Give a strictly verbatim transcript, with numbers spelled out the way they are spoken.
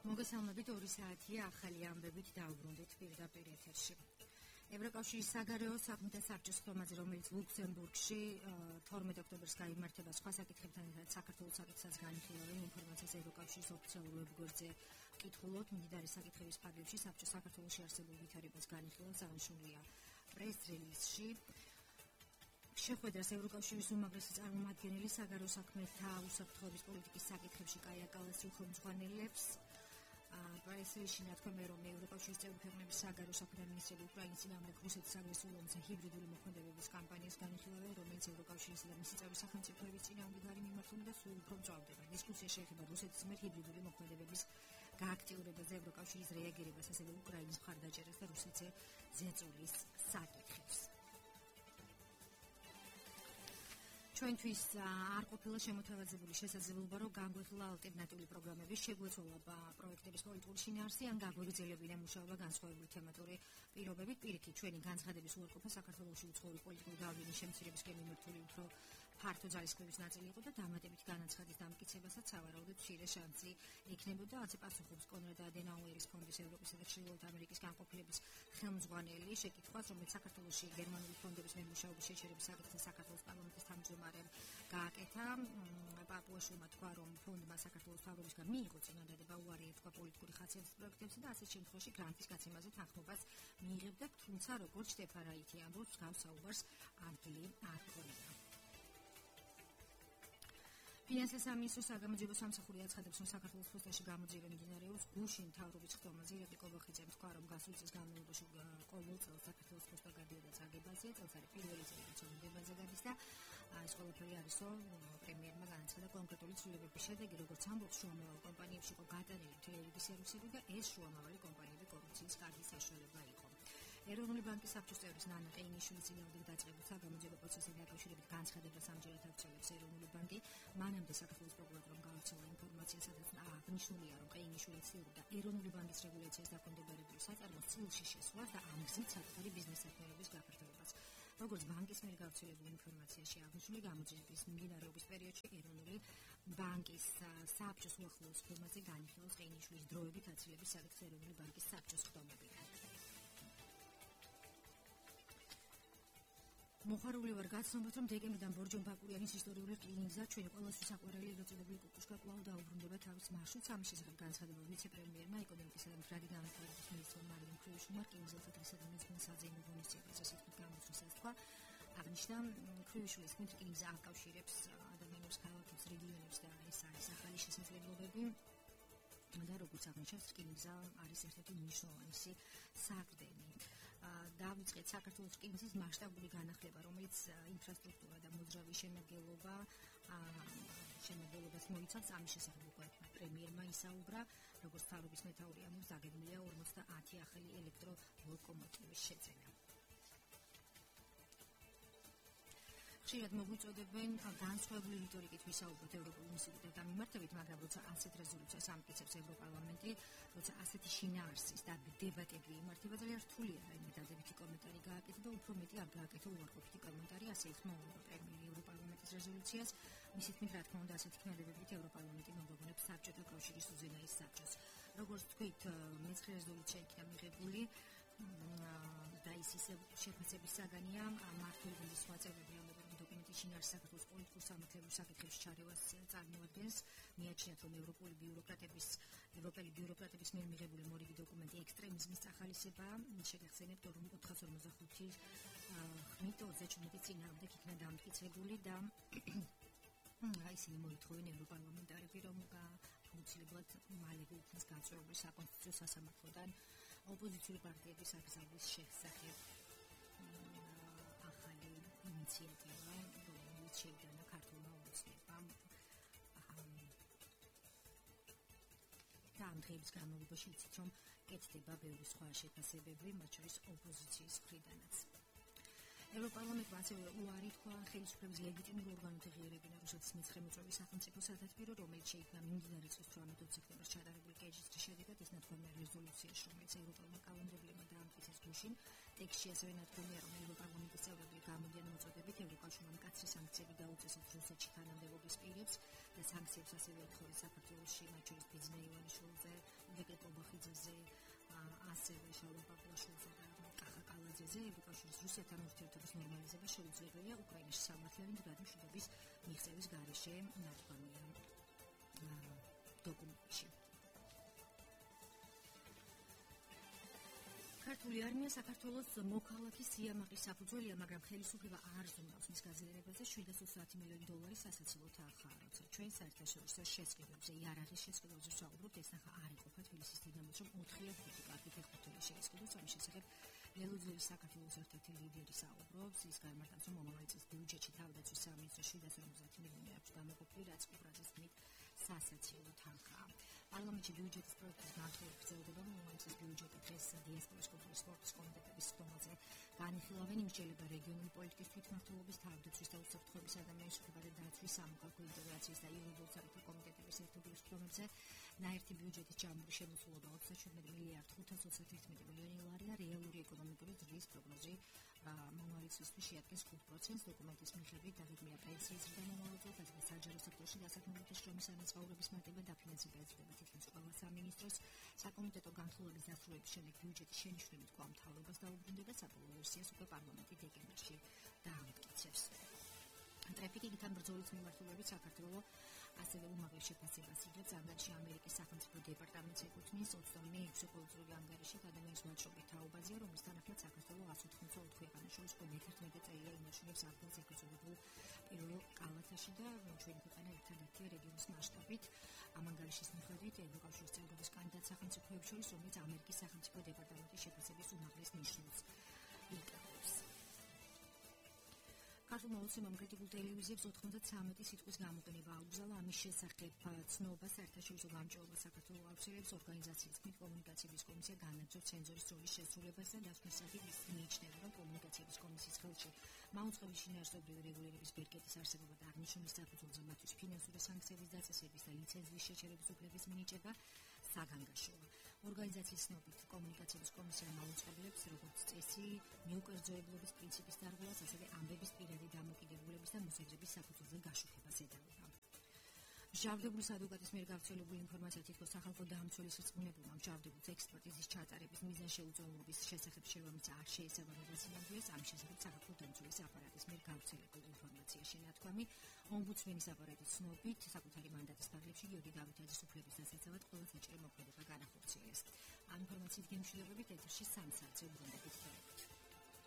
მოგესალმებით ორი საათია ახალი ამბებით დავუბრუნდით პირდაპირ ეთერში. ევროკავშირის საგარეო საქმეთა საბჭოს ხომაზე, რომელიც ლუქსემბურგში თორმეტ ოქტომბერს გაიმართება, სხვა საკითხებთან ერთად საქართველოს საკითხსაც განიხილავენ ინფორმაციას ევროკავშირის ოფიციალურ ვებგვერდზე ვკითხულობთ. მდიდარი საკითხების ფარგლებში საბჭოს საქართველოში არსებულ ვითარებას განიხილავს, აღნიშნულია პრეს-რელიზში. შეხვედრას ევროკავშირის უმაღლესი წარმომადგენელი საგარეო საქმეთა უსაფრთხოების პოლიტიკის საკითხებში კაია კალასი უხელმძღვანელებს. პრესში ნათქვამია, რომ ევროკავშირის წევრი ქვეყნების საგარეო საქმეთა მინისტრები უკრაინის წინააღმდეგ რუსეთის აგრესიულ ომზე ჰიბრიდული მოქმედებების კამპანიას განიხილავენ, რომელიც ევროკავშირის და მისი წევრი სახელმწიფოების წინააღმდეგ არის მიმართული და სულ უფრო მწვავდება. დისკუსია შეეხება რუსეთის მიერ ჰიბრიდული მოქმედებების გააქტიურებაზე, ევროკავშირის რეაგირებას, ასევე უკრაინის მხარდაჭერას და რუსეთზე ზეწოლის საკითხებს. ჩვენთვის არ ყოფილა შემოთავაზებული შესაძლებლობა, რომ განგვეხილა ალტერნატიული პროგრამების შეგვეცვალა პროექტების პოლიტიკური შინაარსი ან გაგვიგრძელებინა მუშაობა განსხვავებული თემატური პირობებით. პირიქით, ჩვენი განცხადების უარყოფა საქართველოში უცხოური პოლიტიკური გავლენის შემცირებისკენ მიმართული უფრო ფართო ძალისხმევის ნაწილი იყო და დამატებით განაცხადის დამტკიცებასაც სავარაუდოდ მცირე შანსი იქნებოდა. ასე პასუხობს კონრად ადენაუერის ფონდის ევროპისა და ჩრდილოეთ ამერიკის განყოფილების ხელმძღვანელი შეკითხვას, რომელიც საქართველოში გერმანული ფონდების მემუშაობის შეჩერების საკითხზე საქართველოს პარლამენტის თავმჯდომარემ გააკეთა. პაპუაშვილმა თქვა, რომ ფონდმა საქართველოს თავრობისგან მიიღო წინადადება უარი ეთქვა პოლიტიკური ხასიათის პროექტებზე და ასეთ შემთხვევაში გრანტის გაცემაზე თანხმობას მიიღებდა, თუმცა როგორც შტეფან რაიტი ამბობს, მსგავს საუბარს ადგილი არ ჰქონია. ფინანსთა სამინისტროს საგამოძიებო სამსახური აცხადებს, რომ საქართველოს ფოსტაში გამოძიება მიმდინარეობს გუშინ მთავრობის ხდომაზე. ირაკლი კობახიძემ თქვა, რომ გასული წლის განმავლობაში ყოველ წელს საქართველოს ფოსტა გადიოდა წაგებაზე, წელს არის პირველი წელი, რაც ომდებაზე გადის და ეს ყველაფერი არისო პრემიერმა განაცხადა კონკრეტული ცვლილებების შედეგი, როგორც ამბობს, შუამავალი კომპანიებში იყო გატანილი მთელი რიგი სერვისები და ეს შუამავალი კომპანიები კორუფციის კარგი საშუალება იყო. ეროვნული ბანკის საბჭოს წევრის ნანა ყეინიშვილის წინააღმდეგ დაწყებულ საგამოძიებო პროცესთან დაკავშირებით განცხადებას ამჯერად აღწევს ეროვნული ბანკი. მანამდე საქართველოს პროკურატურამ გაავრცელა ინფორმაცია, სადაც აღნიშნულია, რომ ყეინიშვილი ცდილობდა ეროვნული ბანკის რეგულაციას დაქვემდებარებული საწარმოს წილში შესვლას და ამ გზით საკუთარი ბიზნეს საქმიანობის გაფართოებას. როგორც ბანკის მიერ გავრცელებული ინფორმაციაში აღნიშნული, გამოძიების მიმდინარეობის პერიოდში ეროვნული ბანკის საბჭოს უახლოეს ფორმაზე განიხილავს ყეინიშვილის დროებით აცილების საკითხი ეროვნული ბანკის საბჭოს ხდომებიდან. მოხარული ვარ გაცნობთ, რომ დეკემბრიდან ბორჯომ ბაკურიანის ისტორიული რკინიგზა ჩვენი ყველასთვის საყვარელი ეგრეთწოდებული კუკუშკა კვლავ დაუბრუნდება თავის მარშრუტს. ამის შესახებ განცხადება ვიცე-პრემიერმა ეკონომიკისა და მდგრადი განვითარების მინისტრმა მარიამ ქრუიშუმმა რკინიგზათა თვისა და მეცნიერების საძეიმო ღონისძიებაზე საკითხი გამოსვლისას თქვა. აღნიშნა, ქრუიშულის თქმით, რკინიგზა აკავშირებს ადამიანებს, ქალაქებს, რეგიონებს და ეს არის ახალი შესაძლებლობები. და როგორც აღნიშნავს, რკინიგზა არის ერთ-ერთი მნიშვნელოვანი საყრდენი. დავიწყეთ საქართველოს რკინიგზის მასშტაბური განახლება, რომელიც ინფრასტრუქტურა და მოძრავი შემადგენლობა შემადგენლობას მოიცავს. ამის შესახებ უკვე პრემიერმა ისაუბრა, როგორც თავრობის მეთაური ამბობს, დაგეგმილია ორმოცდაათი ახალი ელექტროლოკომოტივის შეძენა. ხშირად მოგვიწოდებენ განსხვავებული რიტორიკით ვისაუბროთ ევროპულ ინსტიტუტებთან მიმართებით, მაგრამ როცა ასეთ რეზოლუციას ამტკიცებს ევროპარლამენტი, როცა ასეთი შინაარსის და დებატები იმართება, ძალიან რთულია რაიმე დადებითი კომენტარი გააკეთა და უფრო მეტი არ გააკეთა უარყოფითი კომენტარი. ასე იხმაურება პრემიერი ევროპარლამენტის რეზოლუციას. მისი თქმით, რა თქმა უნდა, ასეთი ქმედებებით ევროპარლამენტი მოგაგონებს საბჭოთა კავშირის უზენაეს საბჭოს. როგორც თქვით, მეცხრე რეზოლუცია იქნა მიღებული და ის ისე შეფასების საგანია. მმართველობის სხვა წევრები ამბობენ, რომ დოკუმენტი შინაარსს საქართველოს პოლიტიკურ სამართლებრივ საკითხებში ჩარევას წარმოადგენს. მიაჩნიათ, რომ ევროპული ბიუროკრატების ევროპელი ბიუროკრატების მიერ მიღებული მორიგი დოკუმენტი ექსტრემიზმის წახალისებაა. შეგახსენებთ, რომ ოთხას ორმოცდახუთი ხმით ოცდაჩვენმეტი წინააღმდეგ იქნა დამტკიცებული და ისინი მოითხოვენ ევროპარლამენტარები, რომ აუცილებლად მალე გულქნის გაწევრებული საკონსტიტუციო სასამართლოდან ოპოზიციური პარტიების აკრძალვის შესახებ ახალი ინიციატივა, რომელიც შეიტანა ქართულმა ოცნებამ და ამ დღეების განმავლობაში ვიცით, რომ კეთდება ბევრი სხვა შეფასებები, მათ შორის ოპოზიციის მხრიდანაც. ევროპარლამენტმა ასევე უარი თქვა ხელისუფლების ლეგიტიმურ ორგანოთა ღიებებინა რუსეთის მეცხრე მოწვევის სახელმწიფო სათათბირო, რომელიც შეიქმნა მიმდინარე წლის თვრამეტ სექტემბერს ჩატარებული კეჭის შედეგად. ის ნათქვამია რეზოლუციაში, რომელიც ევროპელმა კანონმდებლებმა დაამტკიცეს გუშინ. ტექსტში ასევე ნათქვამია, რომ ევროპარლამენტის წევრები გამოდიან მოწოდებით ევროკავშირმა მკაცრი სანქციები დაუწესოთ რუსეთში თანამდებობის პირებს და სანქციებს ასევე ეთხოვეს საქართველოში, მათ შორის ბიძინა ივანიშვილზე, ილგე კობახიძეზე, ასევე შალვა პაპლაშვილზე და კახა კალაძეზე. ევროკავშირის რუსეთთან ურთიერთობის ნორმალიზება შეუძლებელია უკრაინაში სამართლიანი მდგრადი მიღწევის გარეშე, ნათქვამია დოკუმენტში. ქართული არმია საქართველოს მოქალაქის სიამაყის საფუძველია, მაგრამ ხელისუფლება არ ზრუნავს მის გაზიარებაზე. შვიდ ათას ოცდაათი მილიონი დოლარი სასაცილო თანხაა, როცა ჩვენ საერთაშორისო შესყიდვებზე, იარაღის შესყიდვებზე ვსაუბრობთ, ეს თანხა არ იყოფა თბილისის დინამოს, რომ ოთხია ხუთი კარგი ფეხბურთელი შეისყიდოს. ამის შესახებ ლელუძველის საქართველოს ერთ-ერთი ლიდერი საუბრობს. ის განმარტავს, რომ მომავალი წლის ბიუჯეტში თავდაცვის სამინისტროს შვიდ ათას ორმოცდაათი მილიონი აქვს გამოყოფილი, რაც უბრალოდ თქმით სასაცილო თანხაა. პარლამენტში ბიუჯეტის პროექტის განხილვა გრძელდება. მომავალი წლის ბიუჯეტი დღეს დიასპორის კულტურის სპორტის კომიტეტების სტომაზე განიხილავენ. იმსჯელება რეგიონული პოლიტიკის თვითმმართველობის, თავდაცვის და უსაფრთხოების ადამიანის უფლებათა დაცვის, სამოქალაქო ინტეგრაციის და იურიდიულ საკითხთა კომიტეტების ერთობლივ შრომებზე ნაერთი ბიუჯეტის ჯამური შემოსულობა ოცდაშვიდმეტი მილიარდი ხუთას ოცდაათერთმეტი მილიონი ლარია. რეალური ეკონომიკური ზრდის პროგნოზი მომავალი წლისთვის შეადგენს ხუთ პროცენტს. დოკუმენტის მიხედვით დაგეგმილია პენსიის ზრდა მომავალ წელს, ასევე საჯარო სექტორში დასაქმებითი შრომის სანაცვლაურების მატება და ფინანსება ეძღვნება თითქმის ყველა სამინისტროს. საკომიტეტო განხილვების დასრულების შემდეგ ბიუჯეტის შენიშვნებით კვლავ მთავრობას დაუბრუნდება. საბოლოო ვერსიას უკვე პარლამენტი დეკემბერში დაამტკიცებს. ტრაფიკინგთან ბრძოლის მიმართულებით საქართველოს ასევე უმაღლეს შეფასებას იღებს. ანგარიში ამერიკის სახელმწიფო დეპარტამენტს ეკუთვნის. ოცდამეექვსე ყოველწლიური ანგარიში ადამიანის ვაჭრობის თაობაზეა, რომლის თანახმად საქართველოს ას ოთხმოცდაოთხ ქვეყანას შორის მეთერთმეტე წელია ინარჩუნებს ადგილს ეგრეთ წოდებულ პირველ კალათაში და ჩვენი ქვეყანა ერთადერთია რეგიონის მასშტაბით. ამ ანგარიშის მიხედვით ევროკავშირის წევრობის კანდიდატ სახელმწიფოებს შორის, რომელიც ამერიკის სახელმწიფო დეპარტამენტის შეფასების უმაღლეს ნიშნულს იკავებს. ქართულმა ოცნებამ კრიტიკულ ტელევიზიებს ოთხმოცდათვრამეტი სიტყვის გამოყენება აუგზავნა. ამის შესახებ ცნობა საერთაშორისო გამჭვირვალობას საქართველოს აუცილებს. ორგანიზაციის თქმით, კომუნიკაციების კომისია განაგრძობს ცენზორის როლის შესრულებას და დასკვნისაკით ის მიიჩნევა, რომ კომუნიკაციების კომისიის ხელში მაუწყებლის შინაარსობრივი რეგულირების ბერკეტის არსებობა და აღნიშნული საფუძველზე მათთვის ფინანსური სანქციების დაწესების და ლიცენზიის შეჩერების უფლების მინიჭება საგანგაშოა. ორგანიზაციის ცნობით, კომუნიკაციების კომისია მაუწყებლებს, როგორც წესი, მიუკერძოებლობის პრინციპის დარღვევას, ასევე ამბების პირადი დამოკიდებულების და მოსაზრების საფუძველზე გაშუქებას ედავება. მჟავდებულის ადვოკატის მიერ გავრცელებული ინფორმაცია თითქოს სახალხო დამცველის რწმუნებულმა მჟავდებულს ექსპერტიზის ჩატარების მიზანშეუწონლობის შესახებ შევამოწა არ შეესაბამება სინამდვილეს. ამ შესახებ სახალხო დამცველის აპარატის მიერ გავრცელებულ ინფორმაციაში ნათქვამი. ომბუდსმენის აპარატის ცნობით, საკუთარი მანდატის ფარგლებში გიორგი დავითაძის უფლების დასაცავად ყველა საჭირო მოქმედება განახორციელეს. ამ ინფორმაციით გემშვიდობებით ეთერში სამ საათზე უბრუნდებით.